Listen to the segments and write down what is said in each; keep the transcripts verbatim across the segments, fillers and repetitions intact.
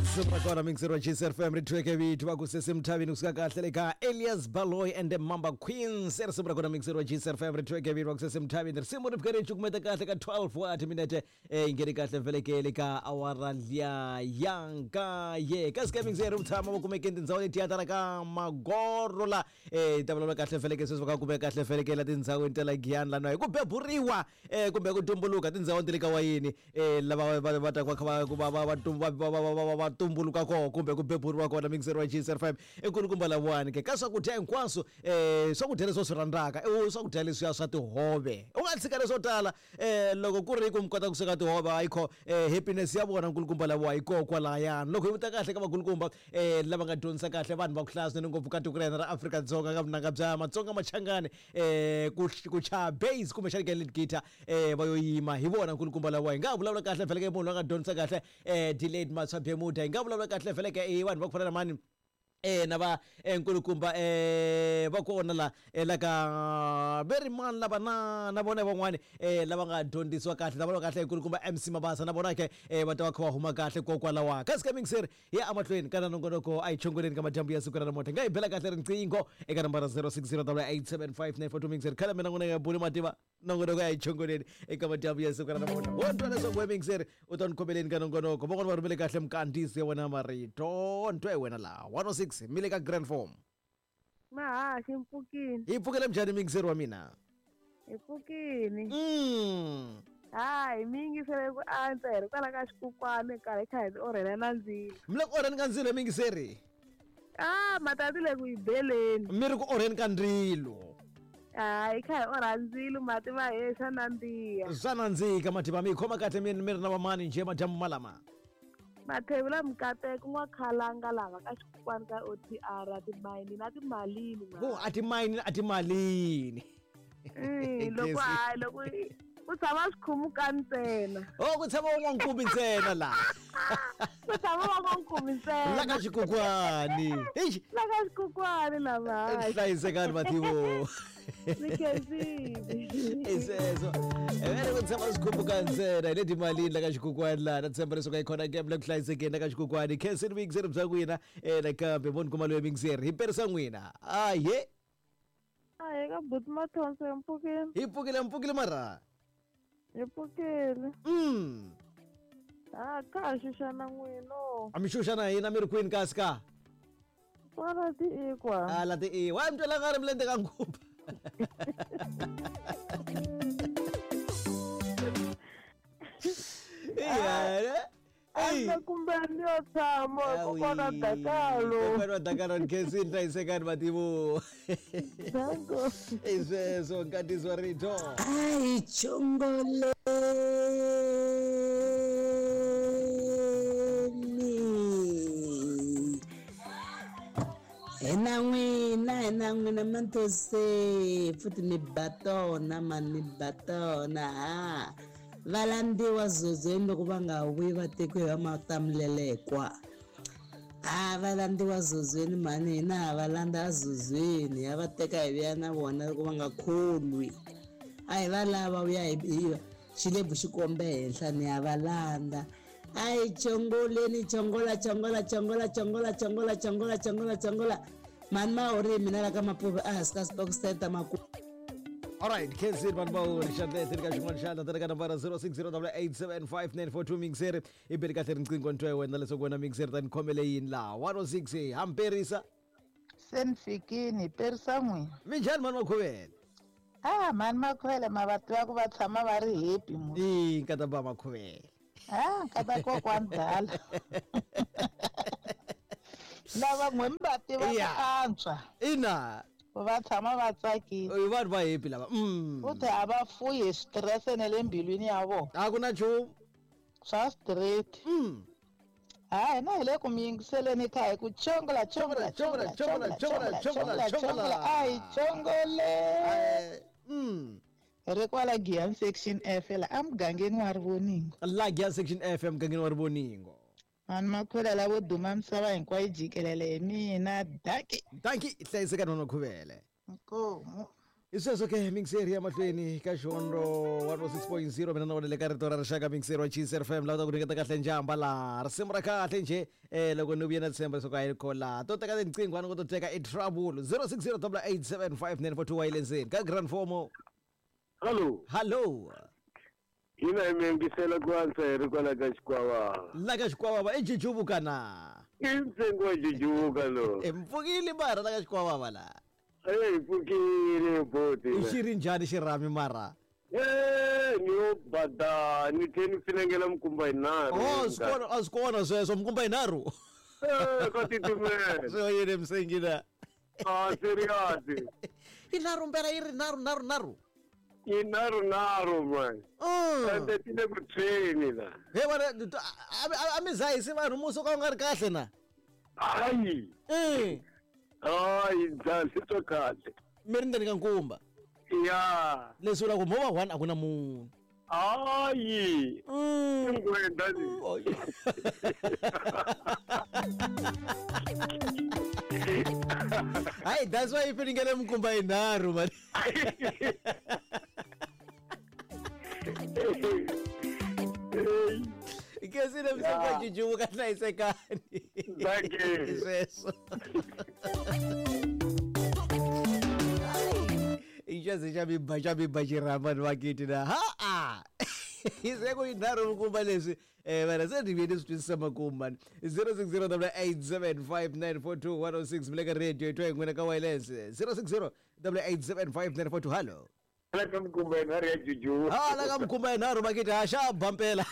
Risimu ra kona mixer wa G S F M ri thweke vito va ku sesemthavini kusuka kahle le ka Elias Baloy and the Mamba Queens. Risimu ra kona mixer wa G S F M ri thweke vito va ku sesemthavini. Risimu ri fike ri cukumeta kahle ka twelve wa timinete eh yi ngheni kahle vhelekele ka awara liya ya nkaye. Kasi ka mixer ri tshama va kumeke tindhawu letiya ta la ka Magoro la eh ta vulavula kahle vheleke sweswi va ka kumeka kahle vheleke la tindhawini ta la Giyani lana hi ku beburiwa eh kumbe ku tumbuluka tindhawini ta le ka wayini eh lava va va ta va kha va va va va tum- va va va va va tumbuluka kona kumbe ku beburiwa kona mixer wa G S F M i kulukumba lavawani ke ka swakudya hinkwaswo eh swakudya leswi u swi rhandzaka i swakudya leswiya swa tihove u nga tshika leswo tala eh loko ku ri ku mi kota ku sweka tihove ayikho eh happiness ya vona nkulukumba lavawa yi koho kwalayani loko hi vuta kahle ka vakulukumba eh lava nga dyondzisa kahle vanhu va ku hlaya swinene ngopfu ka tiko ra hina ra Afrika-Dzonga ka vunanga bya Matsonga Machangani eh ku ku chaya bass kumbexani ka lead guitar eh va yo yima hi vona nkulukumba lavawa hi nga vulavula kahle vhele munhu loyi a nga dyondzisa kahle eh delayed Matswa Bemuda hi nga vulavula kahle vhele ka i vanhu va ku fana na mani eh na va eh, nkulukumba eh va kona la eh, la ka veri mani lava na na vona van'wani eh lava nga dyondzisiwa kahle lava va kahle nkulukumba M C Mabasa na vona ke eh va ta va kha va huma kahle kokwalawa kasi ka mixer ya amahlweni kana nongonoko a hi chongoleni ka madyambu ya siku ra namuntlha nga hi bela kahle riqingho eka nambara zero six zero eight seven five nine four two mixer khale mina n'wina nga buli mativa nongonoko ya hi chongoleni eka madyambu ya siku ra namuntlha wo twa leswaku we mixer u ta ni khomeleni ka nongonoko van'wana va rhumele kahle mkandzisi ya wena marito ntwa hi wena laha one oh six mi le ka grand form. Mahaxi mpfukini. Hi pfukele njhani mixer wa mina? Hi pfukini. mm. Hayi, mi yingisele ku antswa hi ri kwala ka xikukwani karhi kha hi orhela na ndzilo. Mi le ku orheni ka ndzilo mingiseri? Ah, mati le ku yi beleni. Mi ri ku orheni ka ndzilo? Hayi, kha hi orha ndzilo, mati ma he, swa nandziha. Swa nandzika mativa mi yi khoma kahle mi mi ri na vamani njhe madyambu malama? Mathevula Mukateko n'wakhalanga lava ka xikukwani ka O T R timayini na timalini. Ku a timayini a timalini. Mm, loko hayi, loko ku tshama swikhumuka ntsena. O ku tshama van'wankumi ntsena laha. Ku tshama van'wankumi ntsena. La ka xikukwani. Eish. La ka xikukwani lava. Hlayisekani mativo. Ni khensile. I sweswo vele ku tshama swikhumbuka ntsena hi le timalini la ka xikukwani laha na tshemba leswaku a yi khona game la ku hlayisekeni la ka xikukwani khenseni vuyingiseri bya n'wina um nakambe vo ni kuma loyi mingiseri hi perisa n'wina ahe. A hi ka buti Mathonso, hi mpfukini. Hi pfukile, mpfukile mara. Hi pfukile. mm A kha ha xuxana n'wino. A mi xuxa na hina mi ri kwini kasi ka? Kwala ti ikwa. A la ti i wa mi twela nga ri milende ka ngupa. Iya. A kumbe ni yo tshama kokwana Dakalo. Kokwana wa Dakalo, ni khensini, hlayisekani mativo. Danko. I sweswo nkatiso wa rito. A hi chongoleni hi na n'wina, hi na n'wina Mantose futhi mi ba tona mani, mi ba tona. Ha va landziwa zozweni loko va nga vuyi va tekiwe hi va matamulelekwa. Ha va landziwa zozweni mani, hina ha va landza zozweni, ha va teka hi vuya na vona loko va nga kholwi. A hi va lava vuya hi hi xilebvu xikombe henhla ni ya va landza. A hi chongoleni, chongola, chongola, chongola, chongola, chongola, chongola, chongola, chongola mani mahori mina la ka Mapuve a hansi ka Stock Center maku. Alright, khensini vanhu va uri xandlete ka xin'wana xandla tele ka nambara zero six zero eight seven five nine four two mixer i beli kahle riqingho ntwa wena leswaku wena mixer ta ni khomele yini laha one oh six hamperisa. Se ni fikini hi perisa n'wina. Minjhani mani Makhuvele? Ah, mani Makhuvele ma va tiva ku va tshama va ri happy mu. I nkata ba Makhuvele. Ah, nkata kokwani dala lava n'we mi va tiva ku Yeah. antswa. Ina. Ku va tshama va tsakile. I vanhu va happy lava mm. Futhi a va fuyi hi stress ne le mbilwini ya vona. A ku na nchumu. Swa straight. mm. Ha hina hi le ku mi yingiseleni kha hi ku chongola, chongola, chongola, chongola, chongola, chongola, chongola, a hi chongole. Eh, mm. Hi ri kwala Giyani section F la emugangeni wa Rivoningo. La Giyani section F emugangeni wa Rivoningo. Mani Makhwela lavo duma misava hinkwayo jikelele hi mina daki. Danki, hlayisekani vanhu Makhuvele. Inkomu. Hi sweswo ke mixeri ya mahlweni ka Xihondlo one oh six point zero mina na wena le ka rito ra rixaka mixeri wa Chiefs F M la ta ku nyiketa kahle njhamba laha risimu ra kahle njhe eh loko ni vuye na tshemba leswaku a yi ko laha to teka tinqingho a ni ko to teka i trouble zero six zero double eight seven five nine four two wa yi le ndzeni ka Grand Fomo. Hello. Hello. Hina hi mi yingisela ku antswa hi ri kwala ka Xikwavava. La ka Xikwavava i Jujuvuka na? I ntsengo wa Jujuvuka lowu. I mpfukile mara la ka Xikwavava la. Eyi pfukile boti. I xi ri njhani xirhami mara? Eh, ni yo bada ni tlhe ni finengela mikumba yinharhu. Oh, swi kona a swi kona sweswo mikumba yinharhu. Eh, ka titimela. Swi yini msengi na? Ah, serious. Yinharhu mpela yi ri nharhu nharhu nharhu. Yinharhu nharhu man. Ende ti le ku tshweni la. He vana a mi zahisi vanhu musi ka u nga ri kahle na? Hayi. Eh. Hayi, ndza swi kahle. Mi ri ndzeni ka nkumba. Ya. Leswi vulaka ku movha one a ku na munhu. Hayi. Ingwenda ni. Hayi, that's why yi finingele mikumba yinharhu man. Ikesile msonga Jujuvuka hlayisekani. Thank you. Sweswo. Ijazi xa mi ba xa mi ba xirhamba ni vakiti na ha-a. Se ku yinharhu mikumba leswi eh vana se ni vuye ni swi twisisa makumu mani zero six zero double eight seven five nine four two one oh six mi le ka radio yi twa hi n'wina ka wireless zero six zero double eight seven five nine four two hallo. La ka mikumba yinharhu ya Jujuvuka. Ha la ka mikumba yinharhu vakiti ha xa ba mpela.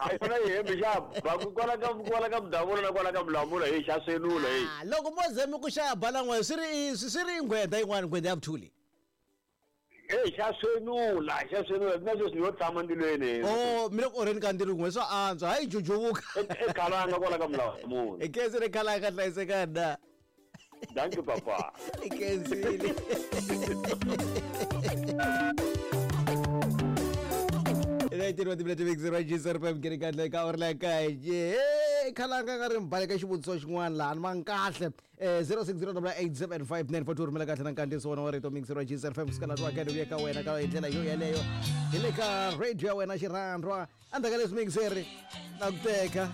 A yona yi hembe xa ba ku kwala ka kwala ka mudavula na kwala ka mulamula hi xa swenula hi. Ah, loko mo ze mi ku xa ba la n'we swi ri swi ri nghwenda yin'wana nghwenda ya vuthuli. Eh xa swenula xa swenula na sweswi yo tshama ndzilweni. Oh, mi le ku orheni ka ndzilo n'we swa antswa hayi Jujuvuka. E khalanga kwala ka mulamula. I khensi khalanga hlayisekani na. Thank you papa. I khensile. nineteen wa timilete mixer wa G S R F M keri kahle ka uri la kaye eh khalanga ka ri mbale ka xivutiso xin'wana laha ni va kahle eh zero six zero double eight seven five nine four two rhumela kahle na nkandziyiso wona wa rito mixer wa G S R F M kusukela laha wa vuya ka wena ka hi ndlela yo yeleyo hi le ka radio ya wena xirhandwa endzhaku ka leswi mixer na ku teka.